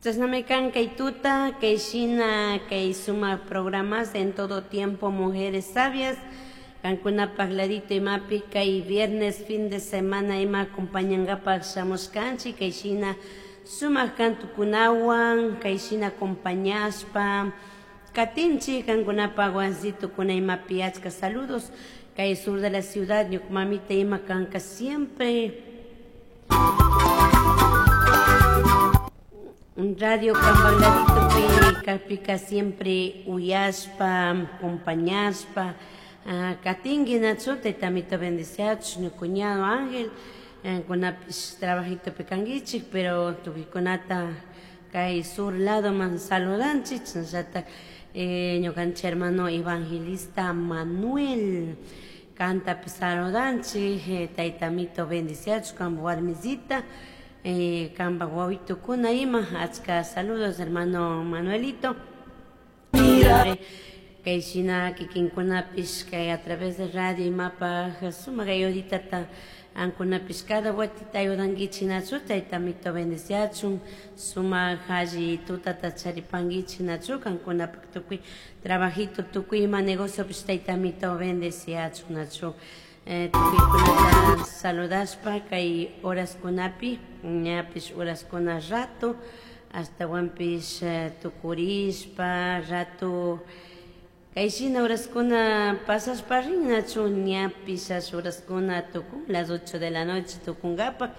Chashnami kan kay tuta, kay shina, kay sumak programas en todo tiempo Mujeres Sabias. Kankunapak ladito imapi kay viernes fin de semana ima acompañangapak shamushkanchik, kay shina sumak kantukunawan, kay shina acompañashpa katinchik kankunapak wasitukuna imapi achka saludos. Kay sur de la ciudad, ñuka mamita ima kanka siempre Radio Cambagladitopi kakpika siempre uyashpa, acompañashpa, katinki nachu taytamito bendiciachun, ñuka cuñado Ángel, kunapish trabajitopi kankichik, pero tukuykunata kay sur ladoman saludanchik, chashnallata ñukanchik hermano evangelista Manuel kantapi saludanchik, taytamito bendiciachun, kanpak warmisita, kanpak wawitukuna ima, achka saludos hermano Manuelito. Kay shina kikinkunapish kay a través de radio imapaj sumak ayuditata ankunapish cada vueltita ayudankichik nachu taytamito bendiciachun, sumak alli tutata charipankichik nachu kankunapak tukuy trabajito tukuy ima negociopish taytamito bendiciachun nachu. Tukuykunata saludashpa kay horaskunapi ñapish horaskuna rato ashtawanpish tukurishpa rato kay shina horaskuna pasashpa rin nachu ñapish ash horaskuna tukun las 8 de la noche tukunkapak.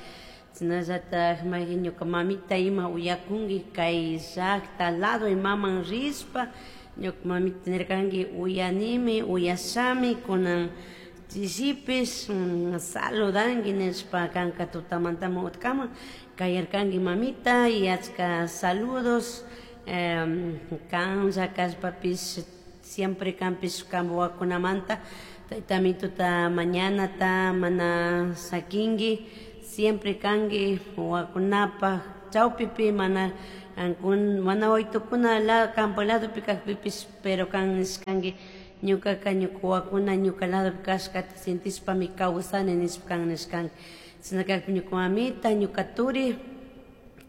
Chashnallatak mayjin ñuka mamita ima uyakunki kay llakta lado imaman rishpa ñuka mamita nirkanki uyanimi uyashami kunan chishipish saludanki nishpa kanka tutamantami utkaman kayarkanki mamita y achka saludos kanlla kashpapish siempre kanpish kanpa wawakunamanta taytamituta mañanata mana sakinki siempre kanki wawakunapak chawpipi mana mana wawitukuna kanpa ladopi kakpipish pero kan nishkanki ñukaka ñuka wawakuna ñuka ladopi kashkata sentishpami kawsani nishpa kan nishkanki. Chashna kakpi ñuka mamita ñuka turi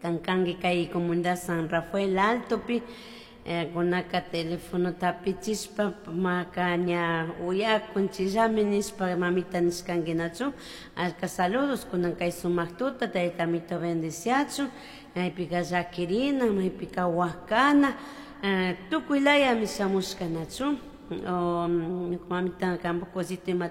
kan kanki kay comunidad San Rafael Altopi kunaka telefonota apichishpa maka ña uyakun chillami nishpa mamita nishkanki nachu. Achka saludos kunan kay sumak tuta taytamito bendiciachun, maypika llakirina maypika wakana tukuy layami shamushka nachu. Ñuka mamita kanpak wasito ima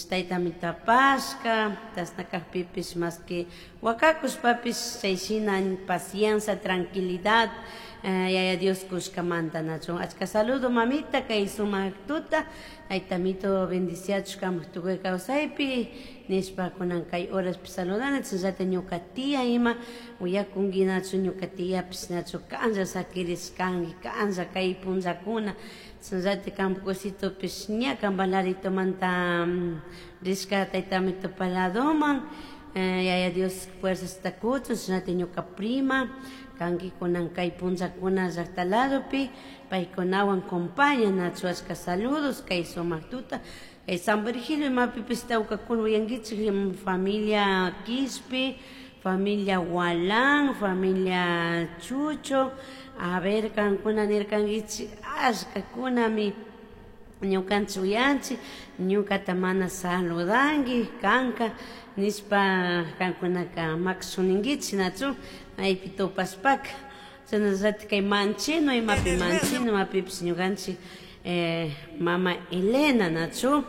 taytamito apashka chashna kakpipish mas que wakakushpapish chay shina paciencia tranquilidad yaya Dios kushkamanta nachu. Achka saludo mamita kay sumak tuta taytamito bendiciachun kanpak tukuy kawsaypi nishpa kunan kay horaspi saludani. Chashnallata ñuka tía ima uyakunki nachu ñuka tiapish nachu kanlla sakirishkanki kanlla kay punllakuna chashnallata kanpak wasitopish ña kanpak laditomanta rishka taytamito paladoman yaya Dios fuerzasta kuchun. Chashnallata ñuka prima kanki kunan kay punllakuna llakta ladopi paykunawan compaña nachu. Achka saludos kay sumak tuta kay San Virgilio imapipish tawkakuna uyankichik familia Quispe, familia Gualán, familia Chucho. A ver kankuna nirkankichik ashkakunami ñukanchik uyanchik ñukata mana saludanki kanka nishpa kankunaka makashuninkichik nachu maypi tupashpaka. Chashnallata kay Manchino imapi Manchino imapipish ñukanchik mama Elena nachu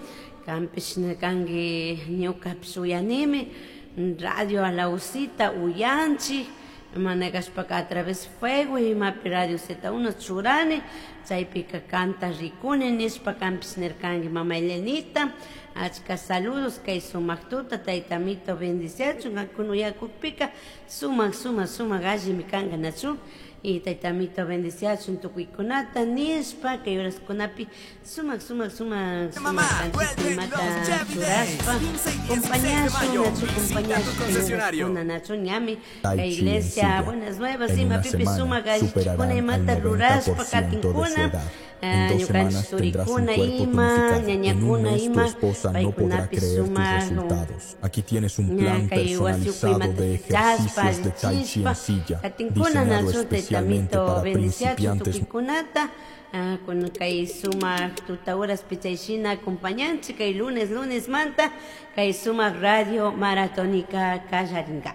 kanpish kanki ñukapish uyanimi radio Alausita uyanchik mana kashpaka a través fuego imapi radio Z1 churani chaypika kanta rikuni nishpa kanpish nirkanki mama Elenita. Achka saludos kay sumak tuta taytamito bendiciachun kankuna uyakukpika sumak sumak sumak allimi kanka nachu. Y taytamito bendiciachun tukuykunata nishpa kay horaskunapi sumak sumak sumak sumak kanchik imata churashpa compañashun nachu compañashun kay horaskuna nachu ñami kay iglesia buenas nuevas En una imapipish semana sumak superarán allichikuna al imata rurashpa 90% de su katinkuna edad. En dos ñukanchik semanas tendrás un turikuna cuerpo ima tonificado. En un ñañakuna mes tu ima esposa no podrá paykunapish creer tus sumak resultados. Aquí tienes un ña plan kay wasi personalizado ukuymanta de pichashpa ejercicios de tai chi allichishpa en silla, katinkuna diseñado nachu especialmente taytamito para bendiciachun principiantes tukuykunata kun kay sumak tuta horaspi chayshina acompañanchik kay lunes lunesmanta kay sumak radio maratonika kallarinka.